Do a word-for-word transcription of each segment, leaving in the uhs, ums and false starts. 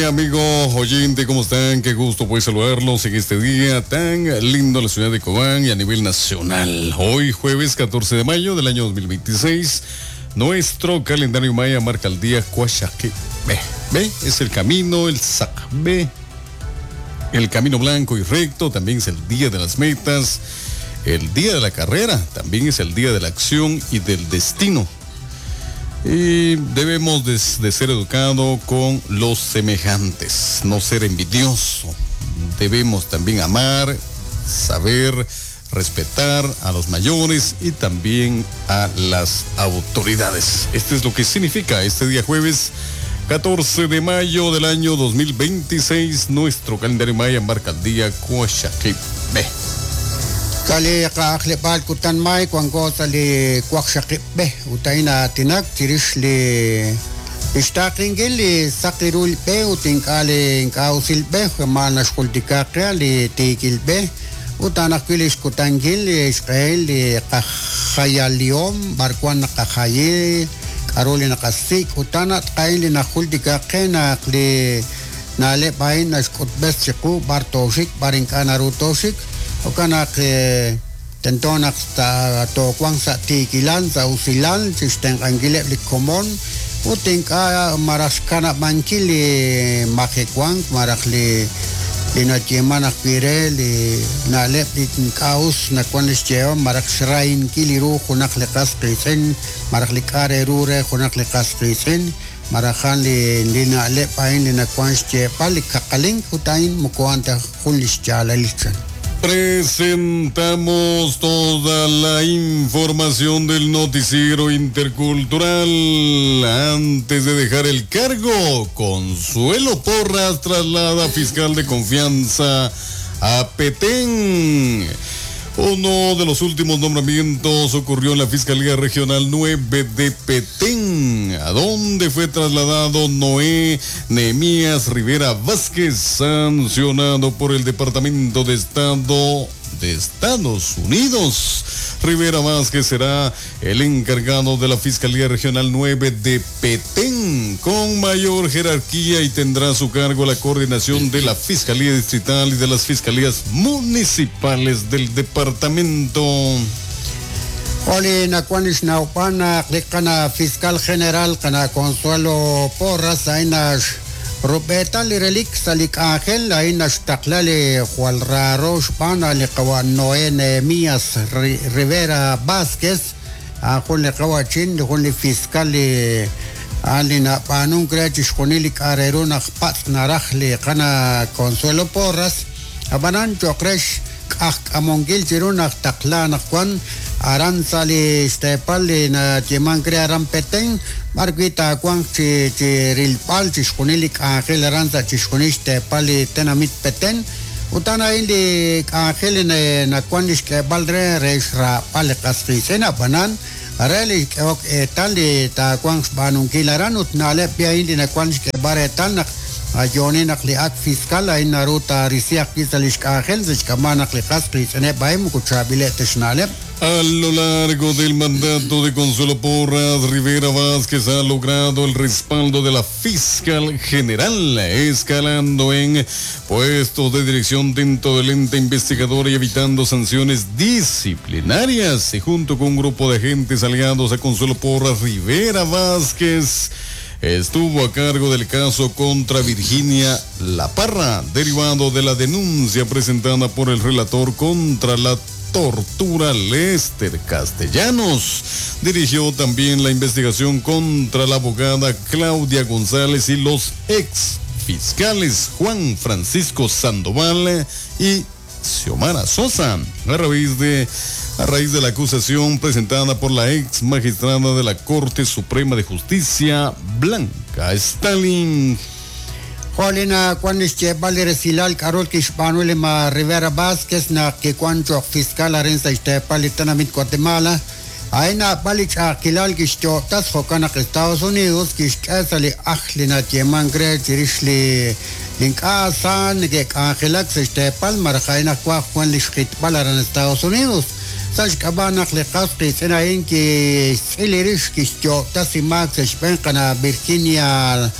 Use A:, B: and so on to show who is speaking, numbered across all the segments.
A: Amigo oyente, ¿cómo están? Qué gusto poder saludarlos en este día tan lindo en la ciudad de Cobán y a nivel nacional. Hoy, jueves catorce de mayo del año dos mil veintiséis, nuestro calendario maya marca el día Cuaxaquebe. Ve, es el camino, el Sacbé, el camino blanco y recto. También es el día de las metas, el día de la carrera, también es el día de la acción y del destino. Y debemos de, de ser educado con los semejantes, no ser envidioso. Debemos también amar, saber respetar a los mayores y también a las autoridades. Este es lo que significa este día jueves catorce de mayo del año dos mil veintiséis. Nuestro calendario maya marca el día Cuaxaquebe.
B: Sali kaaklepal kutan may kuangko sali Cuaxaquebe utaina tinak chirish li istakingil li sakirul be utinkale inkausil be mana xkultikaqe li tikil be utanakil xkutangil li xqel li qajayaliom barkuan qajayi karoli naqasik utana tqail li naxkultikaqe naqli nale bain naxkutbes chiqu bartoxik barinkanarutoxik Okanak tentonak ta tokwang sa tikilan sa usilan sisteng anggilep li komon utingka maraskana mankili makikwang marakli linatyeman akpire li nalep li kaus nakwan lischeo marak shrain kiliru hunak likas kisin marak likare rure hunak likas kisin marajan li linalep ain li nakwan schepa li kakaling hutain mukuanta hulischalalichan.
A: Presentamos toda la información del noticiero intercultural. Antes de dejar el cargo, Consuelo Porras traslada fiscal de confianza a Petén. Uno de los últimos nombramientos ocurrió en la Fiscalía Regional nueve de Petén, a donde fue trasladado Noé Nehemías Rivera Vázquez, sancionado por el Departamento de Estado de Estados Unidos. Rivera Vázquez será el encargado de la Fiscalía Regional nueve de Petén, con mayor jerarquía, y tendrá a su cargo la coordinación de la Fiscalía Distrital y de las Fiscalías Municipales del departamento.
B: Oli nakuanis naupana klikana Fiscal General kana Consuelo Porras ainas Rubeta li relik salik ángel ainas taklali Juan Rarosh pana li kawa Noé Nehemías Rivera Vázquez ajun li kawa chin jun li fiscal li alina panun krech xkunili kareruna pat naraj li kana Consuelo Porras abanan chokresh amongil chiruna takla nakwan aran sali stepal na timan crea aran Petén marquita kwan chi chirilpal chixkunilik ángel aranza chixkunix tepal tenamit Petén utana indi ángel na kwan ixkebal re rexra pal qasqisena banan areli ok etal ta kwan banunkil aran utnale pia indi na kwan ixkebar etal nak ayoni nak li ak fiscal ay naruta risiak kisalish ángel zixkamana li qasqisene baim kuchabile teshnalep.
A: A lo largo del mandato de Consuelo Porras, Rivera Vázquez ha logrado el respaldo de la fiscal general, escalando en puestos de dirección dentro del ente investigador y evitando sanciones disciplinarias. Y junto con un grupo de agentes aliados a Consuelo Porras, Rivera Vázquez estuvo a cargo del caso contra Virginia La Parra, derivado de la denuncia presentada por el relator contra la tortura Lester Castellanos. Dirigió también la investigación contra la abogada Claudia González y los ex fiscales Juan Francisco Sandoval y Xiomara Sosa, a raíz de, a raíz de la acusación presentada por la ex magistrada de la Corte Suprema de Justicia, Blanca Stalin.
B: Jolina cuando Silal Carol Kishpanuel ma Rivera Vázquez na que cuancho fiscal arensa Ixtepalitanamit Guatemala aina palich akilal kishchotas jokana Estados Unidos kishkasali ajlina tieman gre chirishli linkasan que angelak Ixtepal marjaina kwa Juan lishkitpal aran Estados Unidos Sashkabanak liqasqi sinain ki silirish kishchotas imax shpenkana Virginia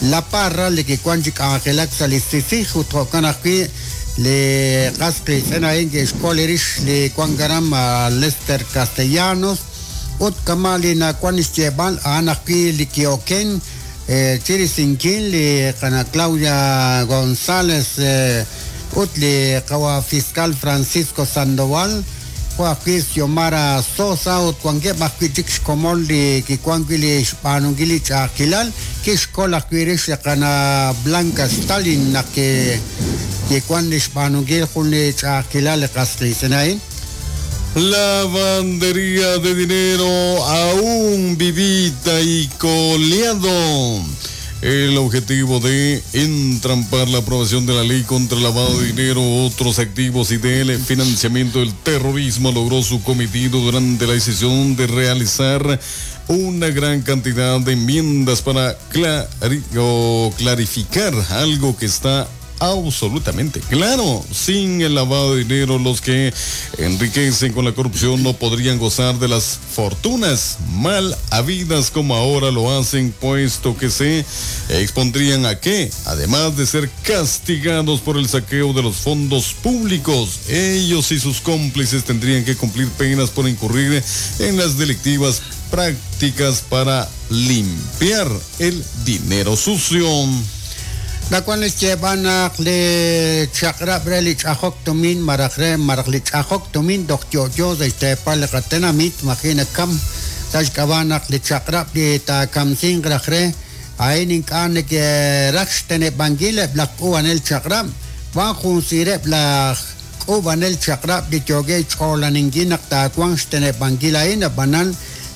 B: La Parra li kiwan chi k'anjelak sa' li CICIG ut jo'kan ajwi' li qas qiitz'in a'in kixkol rix li wan garam a Lester Castellanos ut kama' li nawan xyeeb'al a'an ajwi' li kioken chirisinkil li qana Claudia González ut li qawa fiscal Francisco Sandoval ajwi' Xiomara Sosa ut wankeb' ajwi' chik xkomon li kiwan wi' li xb'aanunkil li ch'a'ajkilal kixkol ajwi' rix li qana Blanca Stalin naq kiwan li xb'aanunkil jun li ch'a'ajkilal li qas qiitz'in a'in.
A: Lavandería de dinero aún vivita y coleado. El objetivo de entrampar la aprobación de la ley contra el lavado de dinero, otros activos y del financiamiento del terrorismo logró su cometido durante la decisión de realizar una gran cantidad de enmiendas para clari- o clarificar algo que está absolutamente claro. Sin el lavado de dinero, los que enriquecen con la corrupción no podrían gozar de las fortunas mal habidas como ahora lo hacen, puesto que se expondrían a que, además de ser castigados por el saqueo de los fondos públicos, ellos y sus cómplices tendrían que cumplir penas por incurrir en las delictivas prácticas para limpiar el dinero sucio.
B: Nawan xyeeb'al naq li chaq'rab' re li ch'ajok tumin maraj re maraj li ch'ajok tumin toj yo'yo sa' xteepal li qatenamit majina kam sa' xk'ab'a' naq li chaq'rab' li taakamsinq raj re a'in ink'a' neke'raj xteneb'ankil eb' laj k'uub'anel chaq'rab' wan jun sireb' laj k'uub'anel chaq'rab' li yookeb' xch'oolaninkil naq taawanq xteneb'ankil a'in ab'anan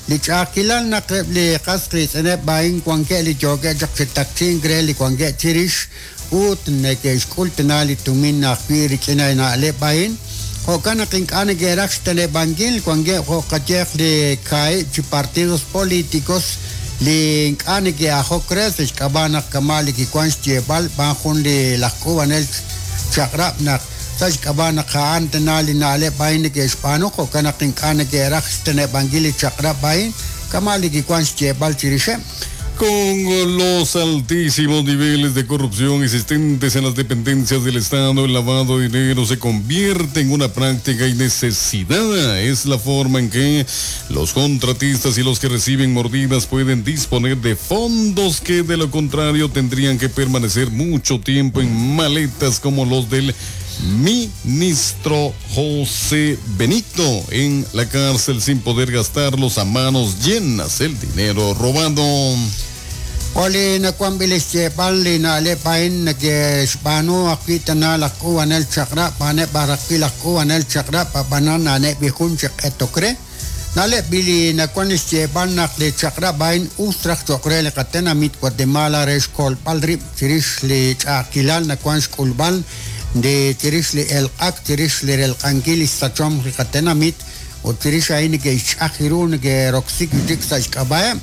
B: li ch'a'ajkilal naq eb' li qas qiitz'ineb' a'in wankeb' li yookeb' chaq chi takchink re li wankeb' chirix ut neke'xk'ul tana li tumin ajwi' rik'in na'leb' a'in jo'kan naq ink'a' neke'raj xteneb'ankil wankeb' jo' qayeq li kaahib' chi partidos políticos li ink'a' neke'ajok re sa' xk'ab'a' naq kama' li kiwan xyeeb'al b'an jun li laj k'uub'anel chaq'rab' naq sa' xk'ab'a' naq a'an tana li na'leb' a'in neke'xb'aanu jo'kan naq ink'a' neke'raj xteneb'ankil li chaq'rab' a'in kama' li kiwan xyeeb'al chirixeb'.
A: Con los altísimos niveles de corrupción existentes en las dependencias del Estado, el lavado de dinero se convierte en una práctica y necesidad. Es la forma en que los contratistas y los que reciben mordidas pueden disponer de fondos que de lo contrario tendrían que permanecer mucho tiempo en maletas como los del ministro José Benito en la cárcel sin poder gastarlos a manos llenas el dinero robado.
B: Oli nakuan bilis xyeeb'al li na'leb' a'in neke'xb'aanu ajwi' tana laj k'uub'anel chaq'rab' a'aneb' ajwi' laj k'uub'anel chaq'rab' ab'anan a'aneb' li jun chi q'etok re na'leb' li nakuan xyeeb'al naq li chaq'rab' a'in us raj cho'q re li qatenamit Guatemala re xkolb'al rib' chirix li ch'a'ajkilal nakuan xk'ulb'al de chirix li elq'ak chirix li relq'ankil li xsachom li qatenamit ut chirix a'in neke'xch'aj ru neke'roksik chik sa' xk'ab'a'eb'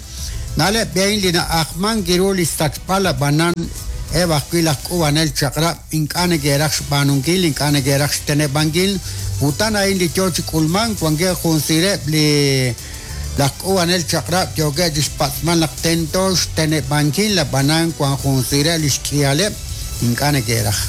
B: na'leb' a'in li na'ajman kiru li xsachb'al ab'anan eb' ajwi' laj k'uub'anel chaq'rab' ink'a' neke'raj xb'aanunkil ink'a' neke'raj xteneb'ankil utan a'in li yoo chi k'ulmank wankeb' jun sireb' li laj k'uub'anel chaq'rab' yookeb' chi xpatz'mal naq tento xteneb'ankil ab'anan wan jun sireb' li xk'ihaleb' ink'a' neke'raj.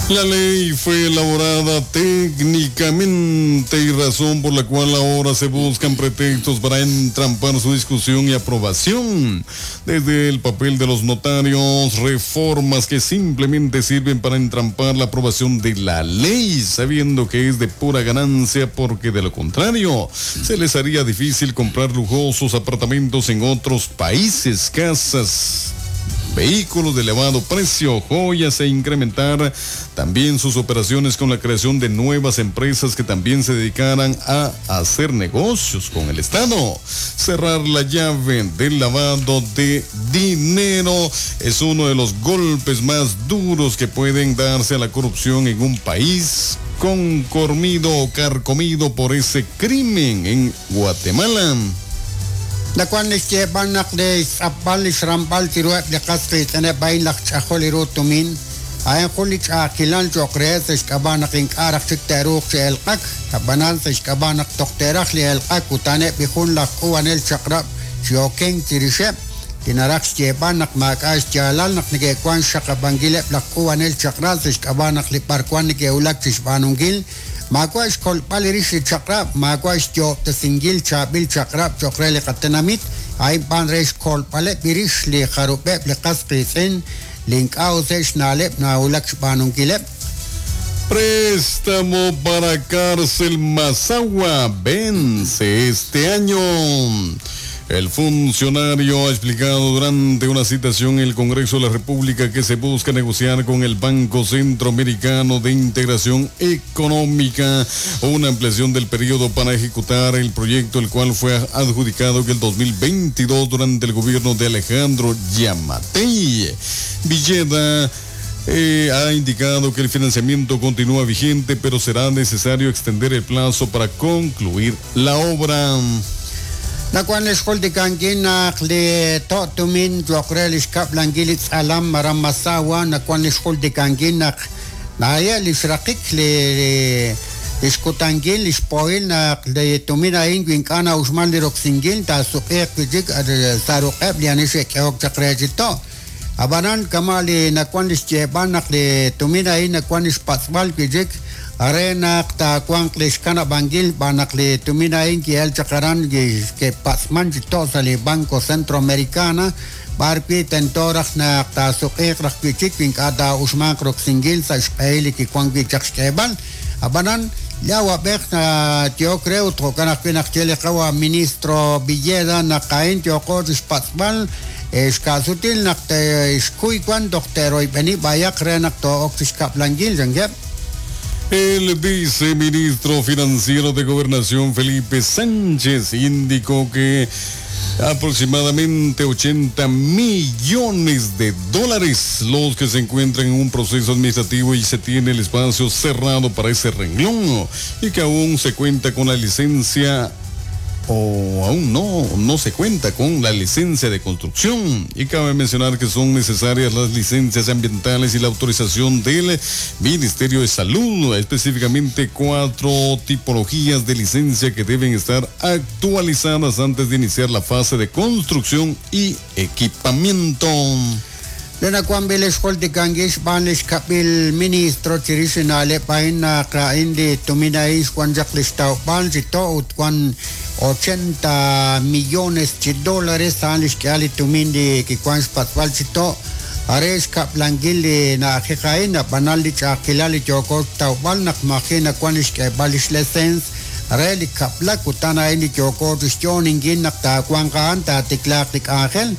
A: La ley fue elaborada técnicamente y razón por la cual ahora se buscan pretextos para entrampar su discusión y aprobación. Desde el papel de los notarios, reformas que simplemente sirven para entrampar la aprobación de la ley, sabiendo que es de pura ganancia, porque de lo contrario se les haría difícil comprar lujosos apartamentos en otros países, casas, vehículos de elevado precio, joyas e incrementar también sus operaciones con la creación de nuevas empresas que también se dedicaran a hacer negocios con el Estado. Cerrar la llave del lavado de dinero es uno de los golpes más duros que pueden darse a la corrupción en un país concormido o carcomido por ese crimen en Guatemala.
B: Nakuan li xyeeb'al naq li xtz'apb'al li xramb'al chiruheb' li qas qiitz'ineb' a'in laj ch'ajol ru tumin a'in jun li ch'a'ajkilal cho'q re sa' xk'ab'a' naq ink'a' raj chik te'ruuq chi elq'ak ab'anan sa' xk'ab'a' naq toj te'raj li elq'ak ut a'aneb' li jun laj k'uub'anel chaq'rab' chi okenk chirixeb' Li naraj xyeeb'al naq maak'a' xyaalal naq neke'wan xxaqab'ankileb' laj k'uub'anel chaq'rab' sa' xk'ab'a' naq li b'arwan neke'wulak chi xb'aanunkil maawa' xkolb'al rix li chaq'rab', maawa' xyo'ob'tesinkil chaab'il chaq'rab' cho'q re li qatenamit, a'in b'an re xkolb'aleb' rix li jarub'eb' li qas qiitz'in li ink'a' use xna'leb' nawulak xb'aanunkileb'.
A: Préstamo para cárcel Masagua vence este año. El funcionario ha explicado durante una citación en el Congreso de la República que se busca negociar con el Banco Centroamericano de Integración Económica una ampliación del periodo para ejecutar el proyecto, el cual fue adjudicado en el dos mil veintidós durante el gobierno de Alejandro Giammattei. Villeda Eh, ha indicado que el financiamiento continúa vigente, pero será necesario extender el plazo para concluir la obra.
B: Nakuan lixjultikankin naq li to' tumin cho'q re li xkab'lankil li tz'alam aran Masagua, nakuan lixjultikankin naq naya li xraqik li li xkutankil li xpohil naq li tumin a'in wi ink'a' na'uxman li roksinkil taasuq'iiq wi' chik saruq'eb' li ani xe'k'ehok chaq re chi to'. Ab'anan kama' li nakuan li xyeeb'al naq li tumin a'in nakuan li xpatz'b'al wi' chik are naq taawanq li xkanab'ankil b'an naq li tumin a'in ki'el chaq aran ke'patz'man chi to' sa' li Banco Centroamericana b'ar wi' tento raj naq taasuq'iiq raj wi' chik wi ink'a' taa'uxmanq roksinkil sa' xq'ehil li kiwan wi' chaq xk'eeb'al. Ab'anan li awab'ej yook re ut jo'kan ajwi' naq ye li qawa ministro Villeda naq a'in yooqo chi xpatz'b'al xka'sutil naq xkuy wan toj te'royb'eni b'ayaq re naq to'ok chi xkab'lankil chankeb'.
A: El viceministro financiero de Gobernación, Felipe Sánchez, indicó que aproximadamente ochenta millones de dólares los que se encuentran en un proceso administrativo y se tiene el espacio cerrado para ese renglón y que aún se cuenta con la licencia o aún no, no se cuenta con la licencia de construcción. Y cabe mencionar que son necesarias las licencias ambientales y la autorización del Ministerio de Salud, específicamente cuatro tipologías de licencia que deben estar actualizadas antes de iniciar la fase de construcción y equipamiento.
B: Lenakuan bilis xjultikanki xb'aan li xkab'il ministro chirix na'leb' a'in naq a'in li tumin a'in xwan chaq li xtawb'al chi to' ut wan ochenta millones chi dólares a'an li xk'ehal li tumin li kiwan xpatz'b'al chi to' are xkab'lankil li na'ajej a'in ab'anan li ch'a'ajkilal li yooko xtawb'al naq maji' nawan li xk'eeb'al li xlecens re li kab'lak utan a'in li yooko chi xyo'oninkil naq taawanq a'an taatiklaaq li k'anjel.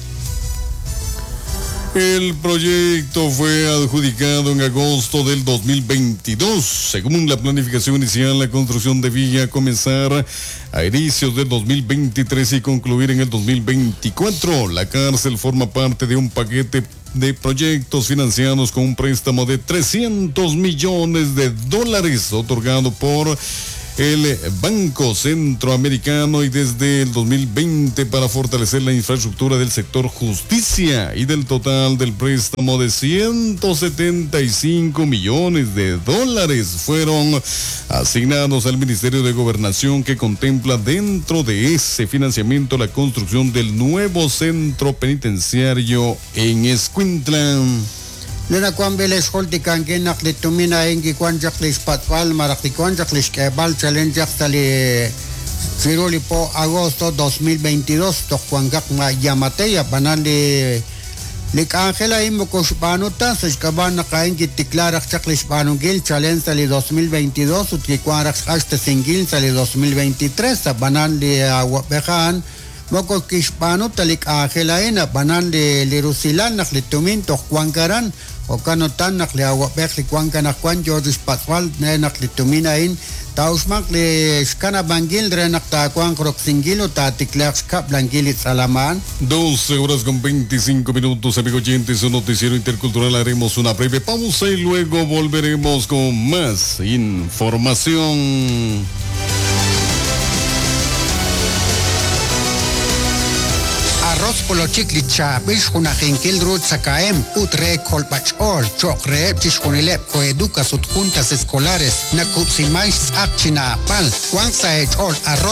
A: El proyecto fue adjudicado en agosto del dos mil veintidós. Según la planificación inicial, la construcción debía comenzar a inicios del dos mil veintitrés y concluir en el dos mil veinticuatro. La cárcel forma parte de un paquete de proyectos financiados con un préstamo de trescientos millones de dólares otorgado por el Banco Centroamericano y desde el dos mil veinte para fortalecer la infraestructura del sector justicia, y del total del préstamo de ciento setenta y cinco millones de dólares fueron asignados al Ministerio de Gobernación, que contempla dentro de ese financiamiento la construcción del nuevo centro penitenciario en Escuintla.
B: Lenakuan bilis xjultikanki naq li tumin a'in kiwan chaq li xpatz'b'al maraj kiwan chaq li xk'eeb'al chalen chaq sa' li chiru li po agosto dos mil veintidós toj wankaq ma Giammattei ab'anan li li k'anjel a'in moko xb'aanu ta sa' xk'ab'a' naq a'in kitikla raj chaq li xb'aanunkil chalen sa' li dos mil veintidós ut kiwan raj xq'axtesinkil sa' li dos mil veintitrés ab'anan li awab'ej a'an moko kixb'aanu ta li k'anjel a'in ab'anan li li rusilal naq li tumin toj wank aran jo'kan utan naq li awab'ej li wank anaqwan yoo chi xpatz'b'al re naq li tumin a'in taa'uxmanq li xkanab'ankil re naq taawanq roksinkil ut taatiklaaq xkab'lankil li tz'alam a'an.
A: doce horas con veinticinco minutos, amigos oyentes, un noticiero intercultural. Haremos una breve pausa y luego volveremos con más información.
B: Arroz polochik li chaab'il xjunajinkil ru tzakahem ut re kolb'ach'ool cho'q reheb' chixjunileb' coeducas ut juntas escolares nakub'siman xtz'aq chinaab'al wank sa' ech'ool arroz